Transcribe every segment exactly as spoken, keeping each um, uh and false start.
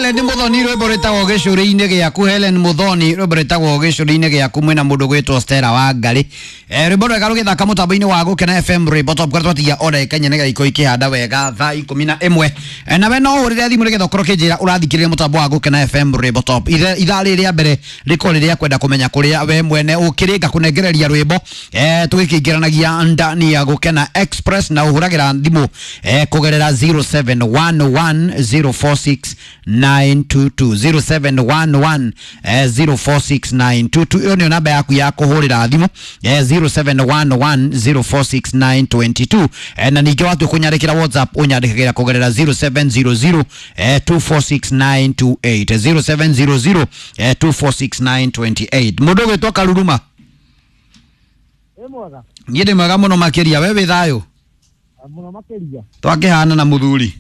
Helen Muthoni rwimbo rwitagwo gicuri-inĩ gĩaku. Helen Muthoni rwimbo rwitagwo gicuri-inĩ gĩaku mwĩna mũndũ gwĩtwo Stella Wangari. Eh, rwimbo rwega rũgĩthaka mũtambo-inĩ wa Gũkena F M rwimbo top kũrĩa twatigia o ndagĩka inya nĩgetha ikorwo ikĩhanda wega thaa ikũmi na ĩmwe. Eh, nawe no ũhũrĩre thimũ nĩgetha ũkorwo ũkĩnjĩra ũrathikĩrĩria mũtambo wa Gũkena F M rwimbo top. Ithaa rĩrĩ rĩa mbere rĩkorwo rĩrĩa kwenda kũmenya kũrĩa we mwene ũkĩrĩ ngakũnengereria rwimbo eh, tũgĩkĩingĩranagia ndani ya Gũkena Express na ũhũragĩra thimũ eh, kũgerera zero seven one one zero four six nine two two zero seven one one zero four six nine two two. Iyo nĩyo namba yaku ya kũhũrĩra thimũ eh, zero seven one one zero four six nine two two. Eh, na ningĩ watua kũnyandĩkĩra WhatsApp ũnyandĩkagĩra kũgerera zero seven zero zero two four six nine two eight zero seven zero zero two four six nine two eight. Mũndũ ũgwĩtwo Karuruma. Ĩ mwega. Niĩ ndĩ mwega mũno makĩria, we wĩ thayũ? Mũno makĩria. Twakĩhana na mũthuri.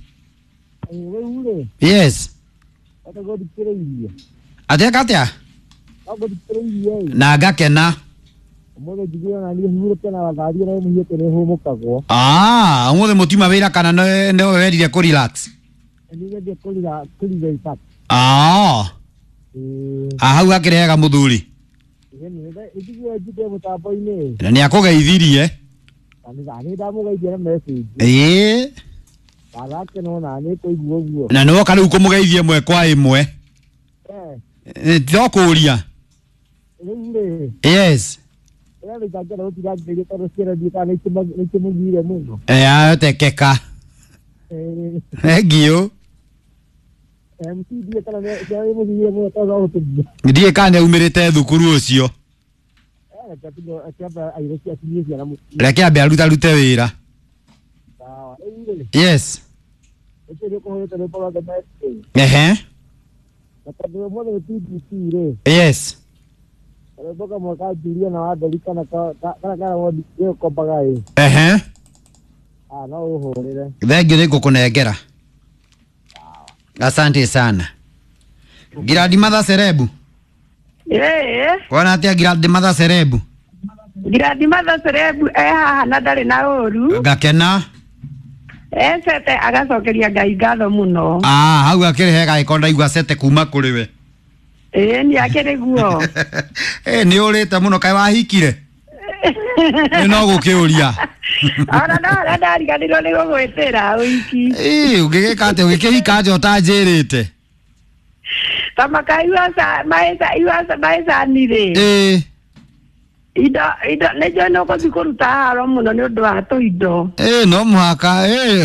Rĩu rĩ. Yes. Ngũthikĩrĩirie. Atĩa atĩa? Ngũthikĩrĩirie. Na ngakena. Ũmũthĩ njiguire ona niĩ hurũke na watharia na mũhiũke nĩ hũmũkagwo. Ah, ũmũthĩ mũtiuma wĩra kana nĩ nĩwe werire kũ relax? Nĩ nyendie kũ relax. Ah. Ah, hau hakĩrĩ hega mũthuri. Njiguire njinde mũtambo-inĩ. Na nĩ akũgeithirie. Nĩ ndamũgeithia na message. Ĩĩ. Ndagakena ona nĩ kũigua ũguo. Na nĩwoka rĩu kũmũgeithia ĩmwe kwa ĩmwe. Eh. To kũũria. Rĩu rĩ. Yes. Eh, atekeka. Thank you. Ndiĩ kana nĩaumĩrĩte thukuru ũcio. Reke ambe arutarute wĩra. Yes. Ehe. Yes. Ehe. Thengiũ nĩ ngũkũnengera. Asante sana. Giradi Mother Serebu. Ĩĩ. Kwana atĩa Giradi Mother Serebu? Giradi Mother Serebu e haha na ndarĩ na ũru. Ngakena. Ecete agacokeria Ngai ngatho mũno. Ah, hau akĩrĩ hega ĩko ndaigua cete kuma kũrĩ we. Ĩĩ nĩ akĩrĩ guo. Eh, nĩ ũrĩte mũno kaĩ wahikire? Nĩ no gũkĩũria. Ona no ona ndariganĩrwo nĩ gũgwĩtĩra ũhiki. Ĩĩ, ũngĩgĩka atĩa ũgĩkĩhika nja ũtanjĩrĩte? Ta makaiwa maĩcani rĩ. Ĩĩ. Indo indo nĩ njũĩ nĩ ũgũthiĩ kũruta haro mũno nĩ ũndũ wa tũindo. Ĩĩ no mũhaka ĩĩ.